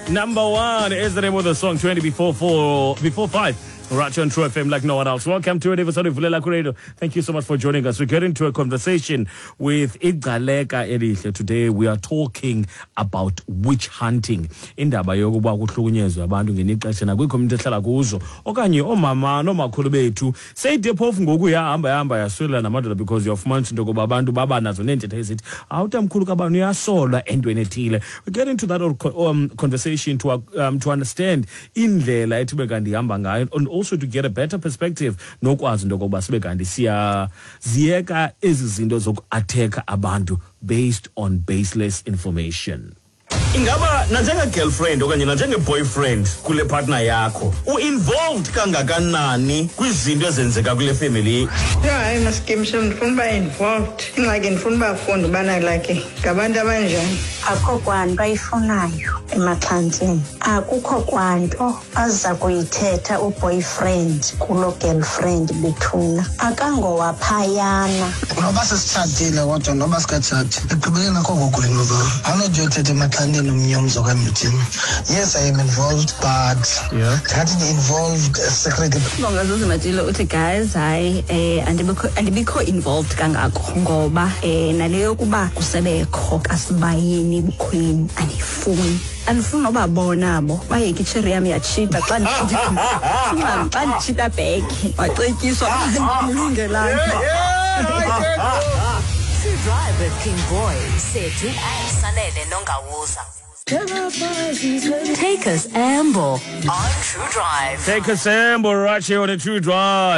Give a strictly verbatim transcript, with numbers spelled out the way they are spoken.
Number one is the name of the song. twenty before four, before five. Right here on True F M like no one else. Welcome to it, episode of Vulela Radio. Thank you so much for joining us. We get into a conversation with Igcaleka Elihle. Today we are talking about witch hunting. Indaba yokuba kuhlukunyezwe abantu ngenixesha nakwi-community ehlala kuzo okanye oomama noomakhulu bethu. Seyide phofu ngoku yahamba yahamba yaswela namadoda because uyafumanisa into yokuba abantu baba nazo neentetho ezithi awutamkhulu kabani uyasolwa entweni ethile. We get into that um, conversation to, um, to understand indlela ethi kanti ihamba ngayo and also to get a better perspective nokwazi into yokokuba sibe kanti siyaziyeka ezi zinto zoku-attack abantu based on baseless information. Ingaba nanjenge-girlfriend okanye nanjenge-boyfriend kule partner yakho u-involved kangakanani kwizinto ezenzeka kule family? Yeah, hayi maskimsho ndifuna uba involved. Ingxaki ndifuna ubafunda ubana like ngabantu abanjani. Akho kwanto ayifunayo emaxhantini. Akukho kwanto aza kuyithetha uboyfriend kulo girlfriend bethuna. Akangowaphayana. Noba sesitshatile kodwa noba sikatshati ekugqibeleni akho kokwenu ba. Awunodiyothetha emaxhantini nomnyomzo okanye uthini. Yes, I am involved, but yeah, ndingathi involved secretly. Bonga Zuzu Matilo uthi guys hayi eh andibikho andibikho involved kangako ngoba eh nale yokuba kusebekho kasibayeni bukhweni andifuni. Andifuni nobabona abo bayeke icherry yam yatshita xa nditshita xa nditshita back wacetyiswa ndilungelanga. True Drive with King Boy, Sethu and Sanele Nongawuza. Take us amble on True Drive. Take us amble right here on the True Drive.